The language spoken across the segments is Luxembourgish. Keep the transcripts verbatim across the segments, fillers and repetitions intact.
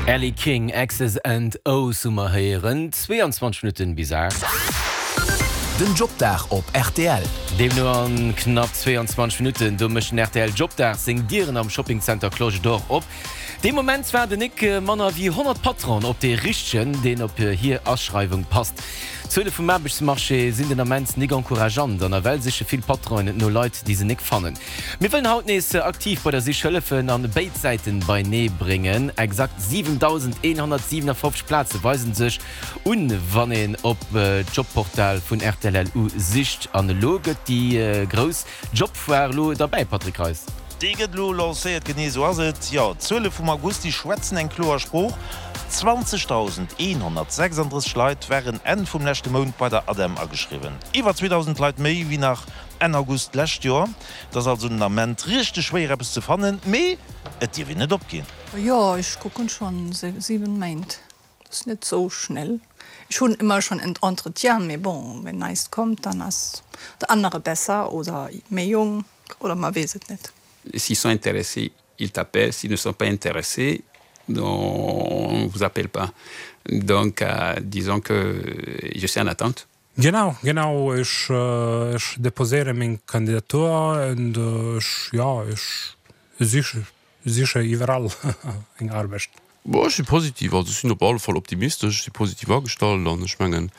Elle King X's and O's hu mer héieren zwee an zwanzeg Minutten bis aacht. Den Jobdag op R T L. Deemno an knapp zwee an zwanzeg Minutten do mécht den R T L Jobdag seng Dieren am Shoppingcenter Cloche d'Or op. Dee Moment waarden nik manner wéi honnert Patronen op dee Richtegen, deen op hir Aschreiwung passt. D'Zuele vum Aarbechtsmarché sinn den Ament nik encourageant an nawell siche vill Patronen no Leit, déi se nik fannen. Mir wëllen haut nees aktiv bei der Sich hëllefen an béid Säiten beienee bréngen. Exakt siwendausendeenhonnertsiwenafofzeg Plaze weisen sech un, wann een op Jobportal vun R T L L U sicht. An elo gëtt déi grouss Jobfoire elo derbäi, Patrick Reis. Déi gëtt elo lancéiert, genee sou ass et. Jo, d'Zuele vum August, déi schwätzen eng kloer Sprooch. zwanzegdausendeenhonnertsechsanddrësseg Leit waren Enn vum leschte Mount bei der ADEM ageschriwwen. Iwwer zweedausend Leit méi wéi nach Enn August d'lescht Joer. Et ass also den Ament richteg schwéier eppes ze fannen, mee et dierf een net opginn. Jo, ech kucken schonn siwe Méint. Dat ass net sou schnell. Ech hunn ëmmer schonn en Entretien, mee bon, wann näischt kënnt, dann ass deen anere besser oder méi jonk oder ma weess et net. S'ils sont intéressés, ils t'appellent. S'ils ne sont pas intéressés, on ne vous appelle pas. Donc, euh, disons que je suis en attente. Genau, genau, ech, äh, ech deposéiere meng Kandidatur an ech, ja, ech siche siche iwwerall eng Aarbecht. Bon, ech si positiv, also sinn op alle Fall optimistesch, si positiv agestallt an ech mengen,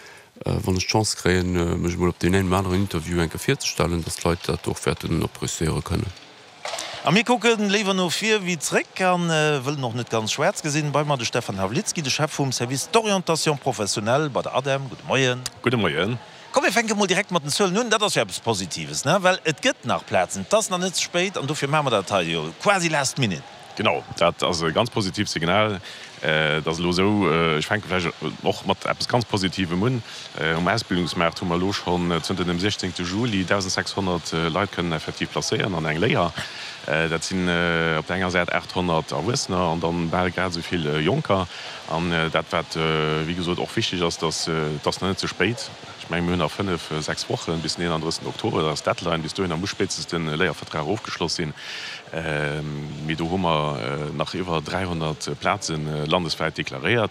äh, wann ech d'Chance kréien, äh, mech mol op deen engen oder aneren Interview eng Kéier virzestellen, dass d'Leit dat och wäerten appréciéiere kënnen. A mir kucken léiwer no vir wéi zréck an äh, wëllen och net ganz schwaarz gesinn. Bei mer de Stefan Havlitzki, de Chef vum Service d'orientation professionnelle bei der ADEM. Gudde Moien. Gudde Moien. Komm, mir fänke mol direkt mat den Zuelen un, dat ass jo eppes Positives, ne? Well et gëtt nach Plazen, et ass nach net ze spéit an dofir maache mer dat hei jo quasi last minute. Genau, dat ass e ganz positiivt Signal. Äh, dat ass elo sou, äh, ech fänke vläicht och mat eppes ganz Positivem un. Äh, um Ausbildungsmaart hu mer elo schonn zënter dem siechzéngte Juli dausensechshonnert Leit kënnen effektiv placéieren an eng Léier. Dat sinn op der enger Säit aathonnert Erwuessener an dann bal grad esou vill Jonker. An dat wat wéi gesot och wichteg ass, dass et ass nach net ze spéit. Ech menge mir hunn nach fënnef, sechs Wochen bis den eenandrëssegsten Oktober, dat ass d'Deadline, bis dohinner muss spéitstens de Léiervertrag ofgeschloss sinn. Mee do hu mer nach iwwer dräihonnert Plazen landeswäit deklaréiert.